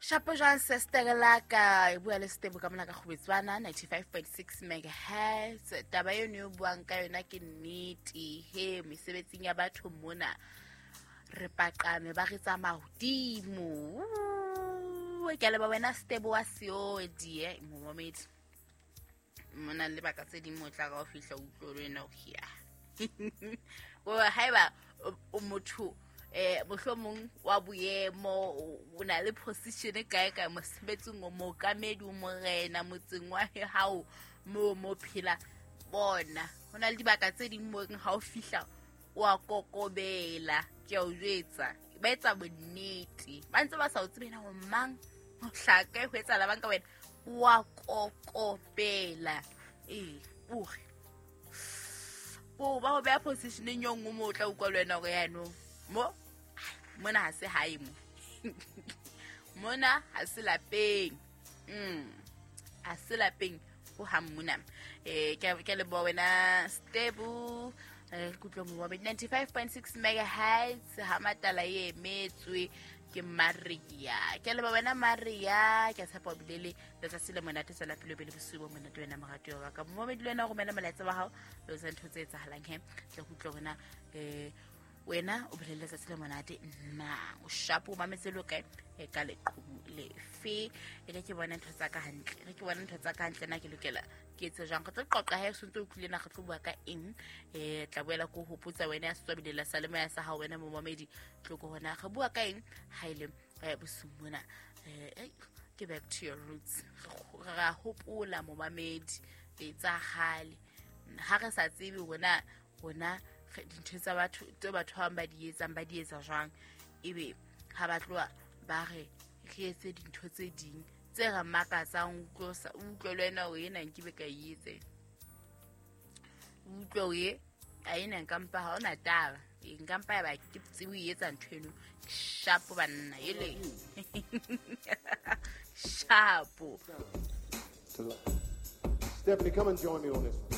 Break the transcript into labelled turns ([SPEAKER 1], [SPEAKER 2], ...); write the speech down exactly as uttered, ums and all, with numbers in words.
[SPEAKER 1] Shapo jwang sestere la ka e bua le Setebo ka mona ka Kgobetswana ninety-five point six megahertz. Taba eno e buang ka yona ke nnete. He mesebetsing ya batho mona re paqame ba re tsamaya hodimo. Ke a leboha wena Setebo wa Seodi, eh, momamedi. Mona le baka tse ding mo tla ka o fihla o utlwe le wena o hia. Bo haeba o motho eh mohlomong wa boemo o na le position kae kae mosebetsing o mookamedi o morena motseng wa hao mo mo phela bona ho na le dibaka tse ding mo ha o fihla o a kokobela ke a o jwetsa ba etsa bonnete ba ntse ba sa o tsebe na ho mang ho hlaka ho etsa la banka wena wa kokobela eh o re bo ba ho beha positioneng yo nngwe mo o tla utlwa le wena hore yanong mo mona ha se hae mo mona ha se lapeng mm ha se lapeng ho hang mona eh ke ke leboha wena Stebu eh kutlwa mo wa ninety-five point six megahertz ha matala e emetswe ke Maria ke leboha wena Maria ke tshepa o bile le letsatsi le monate tswela pele o be le bosiu bo monate wena moratuwa wa ka momamedi le wena o romela molaetsa wa hao le etsa ntho tse etsahalang he tle go utlwa wena eh wena o bolelle letsatsi le monate na o shapo o mametse le kae e ka leqhubu lefe e re ke bona ntho tsa ka hantle re ke bona ntho tsa ka hantle na ke lokela ke etse jwang re tlo qoqa ha e sentse o utlwile na re tlo bua ka eng eh tla boela ko hopotsa wena ya setswabilela sa le moya sa hao wena momamedi tlo ko hona re bua ka eng ha ile bosiung mona eh ke back to your roots ra hopola momamedi tsa kgale ha re sa tsebe hona hona dintho tsa batho tse batho ba ba di etsang ba di etsa jwang ebe ha ba tloha ba re re etse dintho tse ding tse re makatsang utlwe utlwe le wena o ena nke be ka e etse utlwe o e a ena nka mpa ha ona taba nka mpa ya ba ke tsebe o etsa ntho eno shapo banna ele shapo.
[SPEAKER 2] Stephanie, come and join me on this one.